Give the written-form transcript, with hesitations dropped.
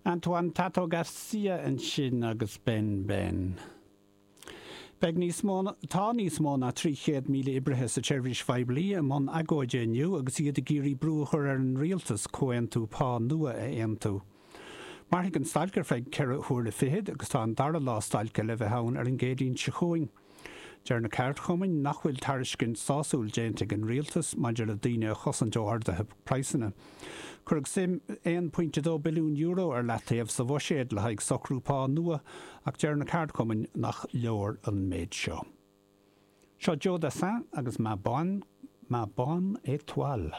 Antoine Tato Garcia ansin agus Ben Ben. Beidh níos mó, tá níos mó ná 300,000 oibrithe sa tseirbhís phoiblí i mbun agóide inniu agus iad ag iarraidh brú a chur ar an rialtas comhaontú pá nua a aontú. Mairfidh an stailc ar feadh ceithre huaire fichead agus tá an dara lá stailce le bheith ann ar an gCéadaoin seo chugainn. Deir na ceardchumainn nach bhfuil tairiscint sásúil déanta ag an rialtas maidir le daoine a chosaint ó arduithe praghsanna. Cuireadh suim €1.2 billiún ar leataobh sa bhuiséad le haghaidh socrú pá nua ach deir na ceardchumainn nach leor an méid seo. Seo Joe Dassin agus Ma Bonne, Ma Bonne Étoile.